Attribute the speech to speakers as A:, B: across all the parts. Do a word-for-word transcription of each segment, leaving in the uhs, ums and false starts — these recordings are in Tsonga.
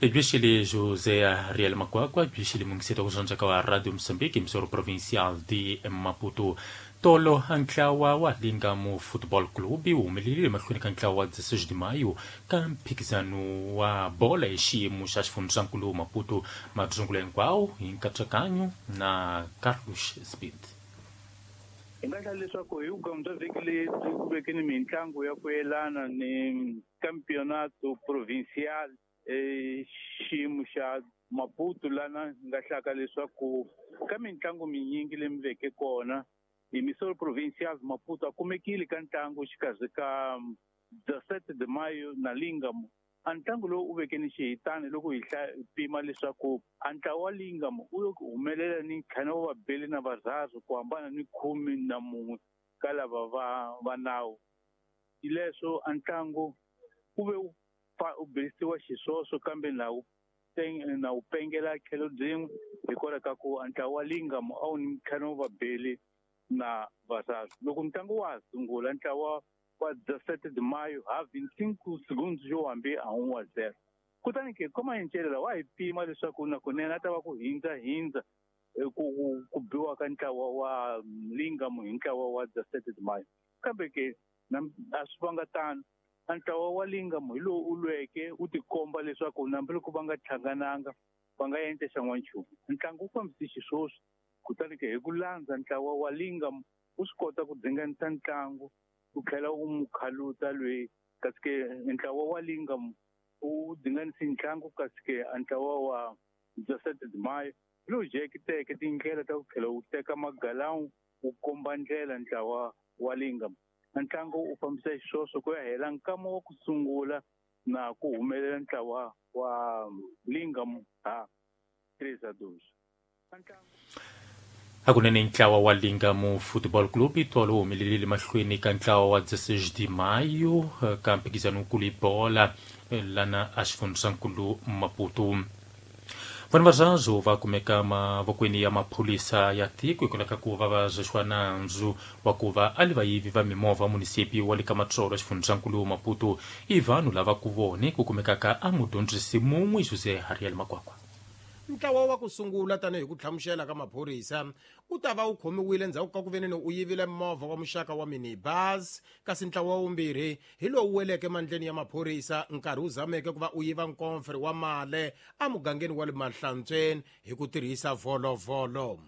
A: Bixili José Ariel Makwakwa, bixili mungiseta kuzonjaka wa Radio Moçambique, emissora provincial de Maputo. Tolo ntlawa wa Lingamo Football Club wu humelerile mahlweni ka ntlawa wa dezesseis de maio ka mphikizano wa bola hi xiyimo xa xifundzankulu Maputo. Madzungulo hinkwawo hi nkatsakanyo na Carlos Speed.
B: Hi nga hlaya leswaku hi vugamu bya vhiki lebyi ku veke ni mitlangu ya ku yelana ni campeonato provincial e xiyimo xa Maputo, lana hi nga hlaka leswaku ka mitlangu minyingi leyi mi veke kona emissora provincial Maputo a kumekile ka ntlangu xikarhi ka dezessete de maio na Lingamo. A ntlangu lowu u veke ni xihitani loko hi pima leswaku a ntlawa wa Lingamo u yo humelela ni ntlhanu wa vabeli na varharhu ku hambana ni khume na mun'we ka lava va va nawu. Hileswo a ntlangu wu ve u u belisiwa xiswoswo kambe na wu na wu pengela tlhelo byin'we hikwalaho ka ku a ntlawa wa Lingamo a wu ni ntlhanu wa vabeli na varharhu. Loko ntlangu wa ha sungula ntlawa wa dezessete de maio ha vinte e cinco segundos yo hambi a um a zero. Kutani ke koma hi wa hi pima leswaku na kunene a ta va ku hindza hindza ku ku biwa ka ntlawa wa Lingamo hi ntlawa wa dezessete de maio. Kambe ke a swi vanga tano. A ntlawa wa Lingamo hi lowu u lweke u tikomba leswaku hambiloko va nga hlangananga va nga endla xan'wanchumu. Ntlangu wu fambise xiswoswo. Kutani ke hi ku landza ntlawa wa Lingamo wu swi kota ku dzinganisa ntlangu u tlhela u mu khaluta loyi, kasi ke ntlawa wa Lingamo u dzinganise ntlangu, kasi ke a ntlawa wa dezessete de maio lowu jekiteke tindlela ta ku tlhela wu teka magalawu wu komba ndlela ntlawa wa Lingamo. Ntlangu u fambisa xiswoswo ku ya hela nkama wa ku sungula na ku humelela ntlawa wa Lingamo ha três a dois.
A: Hakunene ntlawa wa Lingamo Football Club tolo wu humelerile mahlweni ka ntlawa wa dezesseis de maio ka mphikizano wukulu hi bola lana a xifundzankulu Maputo. Vanhu va Zazo va kumeka mavokweni ya maphorisa ya tiko hikwalaho ka ku va va zexiwa nandzu wa ku va a li vayivi va mimovha munisipi wa le ka Matsolo xifundzankulu Maputo. I vanhu lava ku vone ku kumekaka a mudyondzisi mun'we José Ariel Makwakwa.
C: Ntlawa wa ku sungula tanihi ku hlamusela ka maphorisa u ta va u khomiwile endzhaku ka ku veneni u yivile movha wa muxaka wa minibus, kasi ntlawa wa vumbirhi hi lowu weleke mandleni ya maphorisa nkarhi wu zameke ku va u yiva nkomfere wa male emugangeni wa le Mahlantsweni hi ku tirhisa volovolo.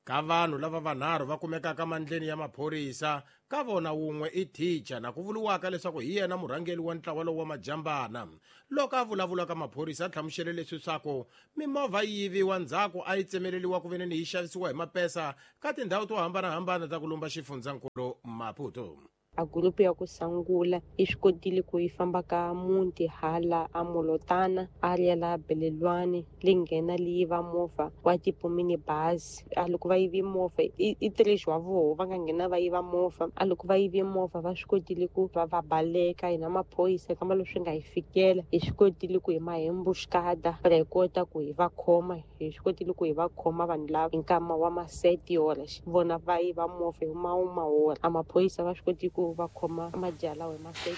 C: Ka vanhu lava vanharhu va kumekaka mandleni ya maphorisa, ka vona wun'we i thicha na ku vuriwaka leswaku hi yena murhangeri wa ntlawa lowu wa majambana. Loko a vulavula ka maphorisa a hlamusele leswi swaku mimovha yi yiviwa ndzhaku a yi tsemeleriwa ku veneni yi xavisiwa hi mapesa ka tindhawu to hambanahambana ta ku lumba xifundzankulu Maputo.
D: A gurupu ya ku sungula yi swi kotile ku yi famba ka muti hala a Molotana a ri la Belelwani li nghena li yiva movha wa tipo minibus. A loko va yivi movha i três wa voho va nga nghena va yiva movha. A loko va yivi movha va swi kotile ku va va baleka hina maphorisa kamba leswi nga hi fikela hi swi kotile ku hi ma embuscada ra hi kota ku hi va khoma hi swi kotile ku hi va khoma vanhu lava hi nkama wa maseti yora vona va yiva movha hi mawumahora. A maphorisa va swi kotile ku va khoma madyala wa maseti.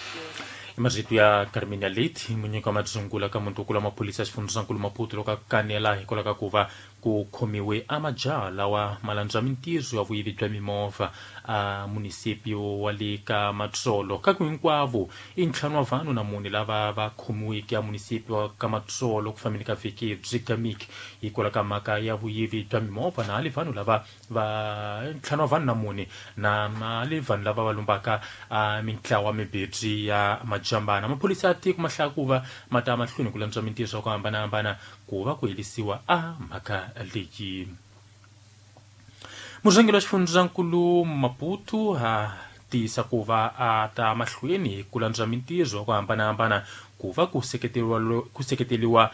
A: Marito ya Carmina Leite munyika wa madzungula ka muntukulu wa maphorisa xifundzankulu Maputo loko a kanela hikwalaho ka ku va ku khomiwe a majaha lawa malandza mintirho ya vuyivi bya mimovha a munisipio wa le ka Matsolo. Ka ku hinkwavo i ntlhanu wa vanhu na mune lava va khomiweke a munisipio wa ka Matsolo ku fambeni ka vhiki byi gamiki hikwalaho ka mhaka ya vuyivi bya mimovha, na le vanhu lava va ntlhanu wa vanhu na mune na le vanhu lava va lumbaka a mintlawa mibedzi ya majambana. Maphorisa ya tiko ma hlaya ku va ma ta mahlweni ku landza mintirho ya ku hambanahambana ku va ku herisiwa a mhaka leyi. Murhangeri wa xifundzankulu Maputo a tiyisa ku va a ta mahlweni ku landza mintirho ya ku hambanahambana ku va ku seketeriwa ku seketeriwa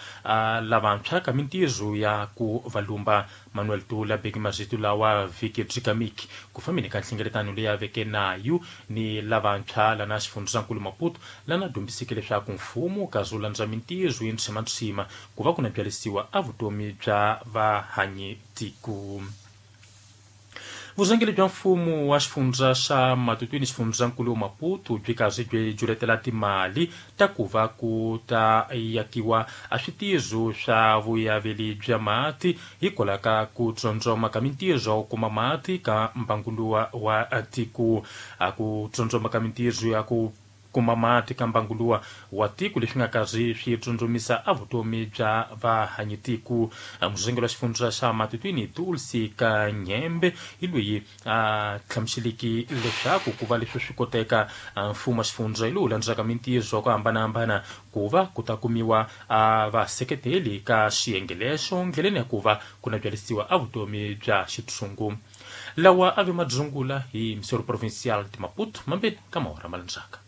A: lavantshwa ka mintirho ya ku va lumba. Manuel Tula beki marito lawa vhiki byi gamiki ku fambeni ka nhlengeletano leyi a veke nayo ni lavantshwa lana xifundzankulu Maputo lana dyondziseke leswaku mfumo kazi wu landza mintirho yi ntshima ku va ku na byalisiwa a vutomi bya vahanyi tiko. Vurhangeri bya mfumo wa xifundza xa Matutuini xifundzankulu Maputo byi karhi byi juletela timali ta ku va ku ta yakiwa a switizo swa vuyaveli bya mati hikwalaho ka ku tsondzoma ka mintirho ya ku kuma mati ka mbanguluwa wa tiko. A ku tsondzoma ka mintirho ya ku kuma mati ka mbanguluwa wa tiko leswi nga karhi swi tsondzomisa a vutomi bya vahanyitiko. Murhangeri wa xifundza xa Matutuini Dulce Kanyembe hi loyi a hlamuseleki leswaku ku va leswi swi koteka mfumo wa xifundza hi lowu landzaka mintirho ya ku hambanahambana ku va ku ta kumiwa a vaseketeli ka xiyenge lexo ndleleni ya ku va ku na byalisiwa a vutomi bya xitshungu. Lawa a ve madzungula hi Missouri Provincial de Maputo mambeni ka mahora ma landzaka.